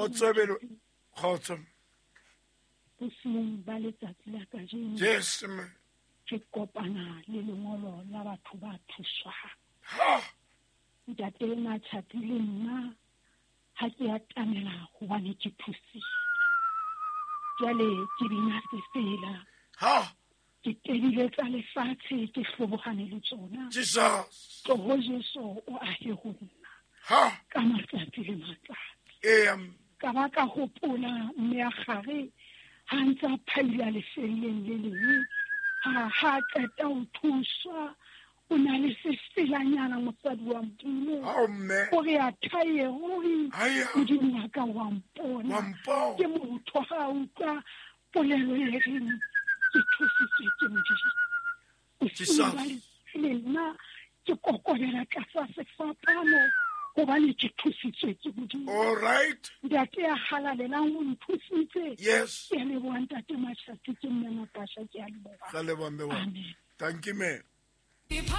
Kgotso belo kgotso. Bosiung ba letsatsi la kajeno. Yes mme. Ke kopana le lengolo la batho ba thuswang. Ha. Ntate Matjhapi le nna ha ke atamela hobane ke thusitswe. Jwale ke bina sefela. Ha. Ke tebile tsa lefatshe ke hlobohane le tsona. Jesus. Tloho Jesu o ahe ho nna. Ha. Ka matsatsi le matsatsi. Eya. Ka ba ka hopola mme a gare ha ntse a phaila lefelleng le leng. Ha ha qeta ho thuswa o na le sefelanyana mosadi wa Modimo. Ao mme. O re a thaye ruri. Aya. Modimo wa ka wa mpona. Wa mpona. Ke motho ha a utlwa polelo e reng ke thusitswe ke Modimo. Jesus. Le nna ke kokobela tlasa sefapano hobane ke thusitswe ke Modimo. All right. Ntate ya halalelang o nthusitse. Yes. Ke a leboha ntate Matjhapi, ke mme Natasha, ke a leboha. Ra leboha mme wa. Amen. Thank you, ma'am.